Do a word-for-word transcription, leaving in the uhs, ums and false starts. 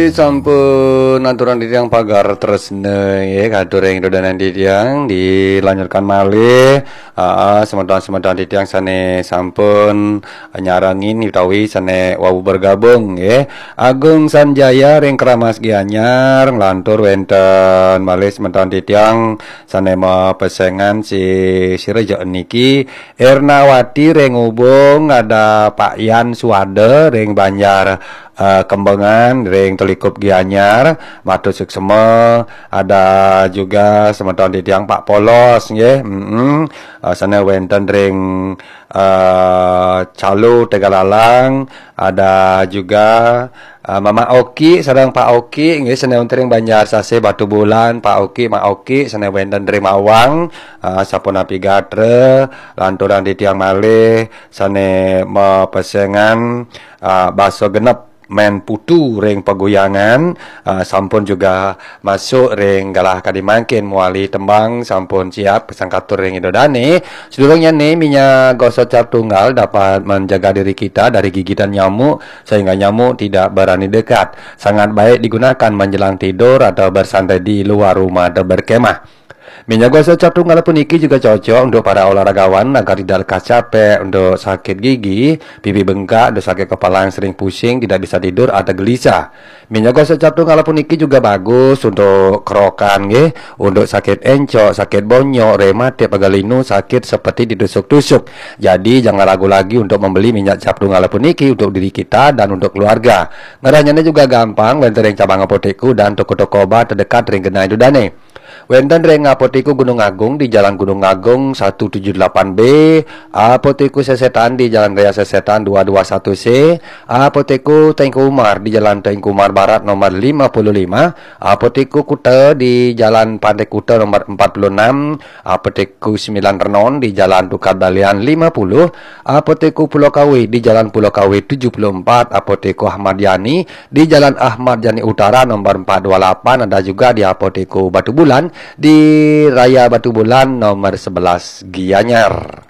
Sampun aturang titiang pagar tresna, nggih, katur ring ida dané titiang, dilanjutkan malih. Ah, semeton-semeton titiang sané sampun nyarengin utawi sané wau bergabung, nggih. Agung Sanjaya ring Keramas Gianyar, nglantur wénten malih semeton titiang sané mapesengan si sira ja niki, Ernawati ring Ubung, ada Pak Yan Suwada ring Banjar, eh, Kembengan, ring Telikup Gianyar, matur suksema, ada juga semeton titiang Pak Polos, nggih, mm-mm. Eh, sané wénten ring, eh, Calo Tegalalang, ada juga, eh, Mama Oki sareng Pak Oki, nggih, sané wénten ring Banjar Sasih Batubulan, Pak Oki, Mak Oki, sané wénten ring Mawang, eh, sapunapi gatra, lanturang titiang malih, sané mapesengan, ah, basa genep Mén Putu ring Paguyangan, ah, sampun juga masuk ring galah kadi mangkin mawali tembang sampun siap kasangkatur ring ida dané. Sadurungnyané minyak gosok cap tunggal dapat menjaga diri kita dari gigitan nyamuk sehingga nyamuk tidak berani dekat. Sangat baik digunakan menjelang tidur atau bersantai di luar rumah atau berkemah. Minyak gosok cap tunggal puniki juga cocok untuk para olahragawan agar tidak lekas capek, untuk sakit gigi, pipi bengkak, untuk sakit kepala yang sering pusing, tidak bisa tidur atau gelisah. Minyak gosok cap tunggal puniki juga bagus untuk kerokan, nggih, untuk sakit encok, sakit bonyok, rematik, pegal linu, sakit seperti ditusuk-tusuk. Jadi jangan ragu lagi untuk membeli minyak cap tunggal puniki untuk diri kita dan untuk keluarga. Ngerahnyané juga gampang, wénten ring cabang apotek dan toko-toko obat terdekat ring genah ida dané. Wénten ring Apotek Gunung Agung di Jalan Gunung Agung satu tujuh delapan B, Apotek Sesetan di Jalan Raya Sesetan dua dua satu C, Apotek Teuku Umar di Jalan Teuku Umar Barat nomor lima puluh lima, Apotek Kuta di Jalan Pantai Kuta nomor empat puluh enam, Apotek Sembilan Renon di Jalan Tukad Balian lima puluh, Apotek Pulau Kawe di Jalan Pulau Kawe tujuh puluh empat, Apotek Ahmad Yani di Jalan Ahmad Yani Utara nomor empat dua lapan, ada juga di Apotek Batubulan di Raya Batubulan nomor sebelas Gianyar.